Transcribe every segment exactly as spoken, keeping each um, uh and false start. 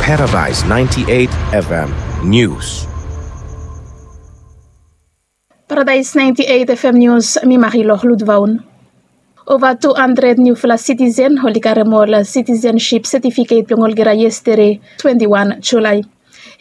Paradise ninety-eight F M News. Paradise ninety-eight F M News, mi Marilor Ludvaun. Ova tu handred niufala sitisen oli karem ol sitisenship setifiket blong olgeta yestede, twenti wan Julae.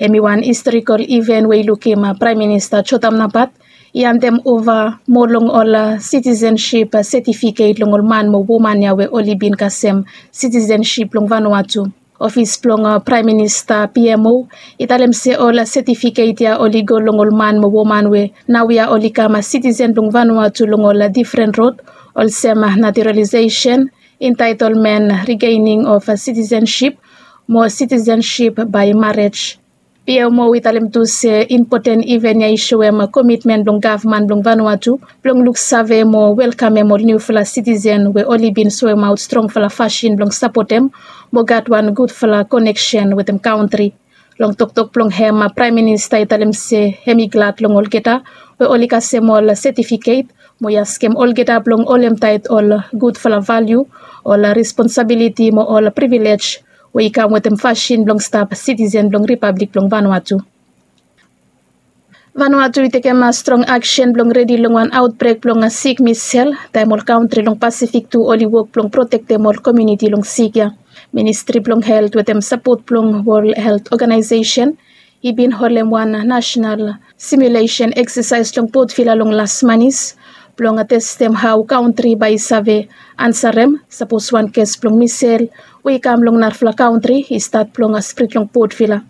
Hem i wan historikol iven we i lukim Praem Minista Jotam Napat i hanem ova moa long ol sitisenship setifiket long ol man mo woman ya we oli bin kasem sitisenship blong Vanuatu. Ofis blong Praem Minista, P M O, i talem se ol setifiket ya oli go long ol man mo woman we naoia oli kam sitisen blong Vanuatu long ol difren rod, olsem naturalisesen, entaetolmen, rigening of sitisenship, mo sitisenship bae marej. P M O i talem tu se impoten iven ya i soem komitmen blong gavman blong Vanuatu blong luksave mo welkamem ol niufala sitisen we oli bin soemaot strongfala fasin blong sapotem mo gat wan gudfala koneksen wetem kantri. Long toktok blong hem, Praem Minista i talem se hem i glad long olgeta we oli kasem ol setifiket mo i askem olgeta blong holem taet ol gudfala valiu, ol responsabiliti mo ol privilej we i kam wetem fasin blong stap sitisen blong Ripablik blong Vanuatu. Vanuatu i tekem strong aksen blong redi long wan aotbrek blong sik misel, taem ol kantri long Pasifik tu oli wok blong protektem ol komuniti long sik ya. Ministri blong Helt wetem sapot blong Wol Helt Oganaesesen i bin holem wan nasenal simulesen eksesaes long Port Vila long las manis blong testem hao kantri bae i save ansarem sapos wan kes blong misel we i kam long narafala kantri i stat blong sprit long Port Vila.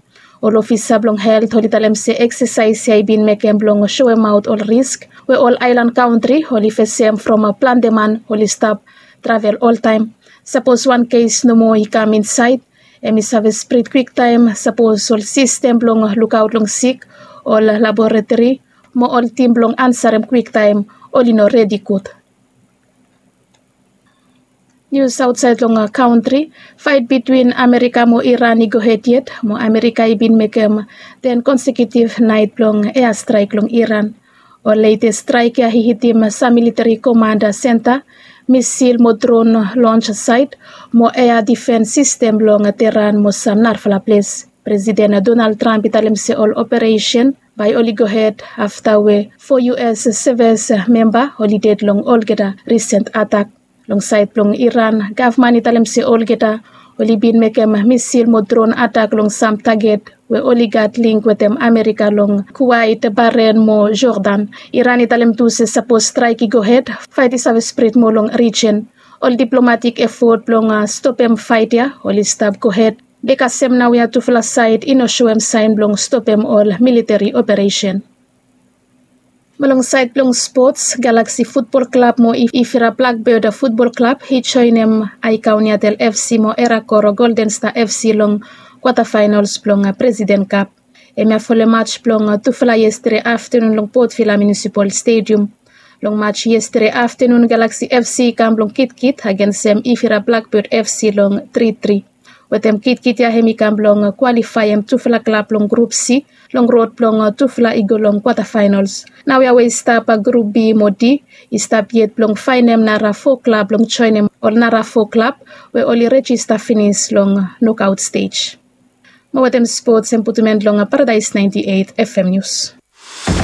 Ol ofisa blong helt oli talem se eksesaes ya i bin mekem blong soemaot ol risk we ol aelan kantri oli fesem from plante man oli stap travel oltaem. Sapos wan kes nomo i kam insaed, hem i save sprit kwiktaem sapos ol sistem blong lukaot long sik, ol laboratori mo ol tim blong ansarem kwiktaem oli no redi gud. Nius aotsaed long kantri. Faet bitwin Amerika mo Iran i gohed yet mo Amerika i bin mekem ten konsekiutiv naet blong eastraek long Iran. Ol letes straek ya i hitim sam militeri komanda senta, misil mo dron lons saet, mo ea difens sistem blong Teheran mo sam narafala ples. Presiden Donald Trump i talem se ol operesen bae oli gohed afta we fo U S seves memba oli ded long olgeta risen atak. Long saed blong Iran, gavman i talem se olgeta oli bin mekem misil mo dron atak long sam taget we oli gat link wetem Amerika long Kuwait, Bahrain mo Jordan. Iran i talem tu se sapos straek i gohed, faet i save sprit moa long rijen. Ol diplomatik efot blong stopem faet ya oli stap gohed be kasem naoia tufala saed i no soem saen blong stopem ol militeri operesen. Mo long saed blong spots, Galaxy Futbol Klab mo Ifira Blackbird Futbol Klab i joenem Aikauniatel F C mo Erakoro Golden Star F C long kwatafaenols blong Presiden Kap. Hemia folem maj blong tufala yestede aftenun long Port Vila Munisipal Stedium. Long maj yestede aftenun, Galaxy F C i kam blong kitkit agensem Ifira Blackbird F C long tri tri. Wetem kitkit ya hem i kam blong kwalifaem tufala klab long Grup C long rod blong tufala i go long kwatafaenols. Naoia we i stap Grup B mo D i stap yet blong faenem nara fo klab blong joenem ol nara fo klab we oli rejista finis long nokaot stej. Mo wetem spots, hem putum en long Paradise ninety eight F M News.